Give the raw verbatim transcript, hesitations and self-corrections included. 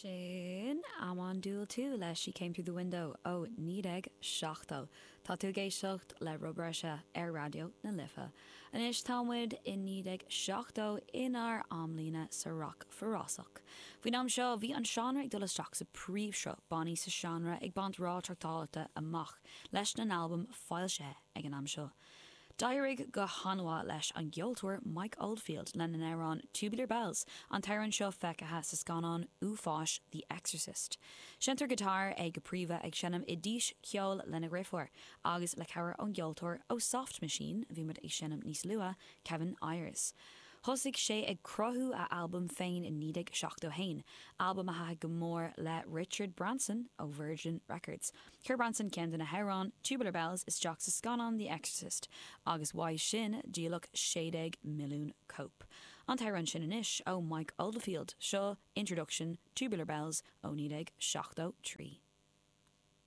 Sin Amon Düül Two le She Came Through the Window ó naoi déag seachtó. Tá tú ag éisteacht le Rud Breise ar Raidió na Life. Anois tá muid i naoi déag seachtó inár amlíne sa rac forásach. Faoin am seo bhí an seánra ag dul isteach sa príomhshruth bannaí sa seánra ag baint rath tráchtáilte amach leis na n-albam foilsithe ag an am seo. D'éirigh go han-mhaith leis an gceoltóir Mike Oldfield lena n-amhrán Tubular Bells, an t-amhrán seo feicthe sa scannán uafáis The Exorcist. Seinnteoir giotár é go príomha ag seinm i dís ceoil lena dheirfiúr, agus le cabhair ón gceoltóir ó Soft Machine a bhí muid ag seinm níos luaithe, Kevin Ayers. Thosaigh sé ag cruthú a albam féin i naoi déag seachtó haon, albam a thaitin go mór le Richard Branson ó Virgin Records. Chuir Branson ceann de na hamhráin, Tubular Bells, isteach sa scannán The Exorcist agus uaidh sin díoladh sé déag milliún cóip. An t-amhrán sin anois ó Mike Oldfield, seo Introduction, Tubular Bells ó naoi déag seachtó trí.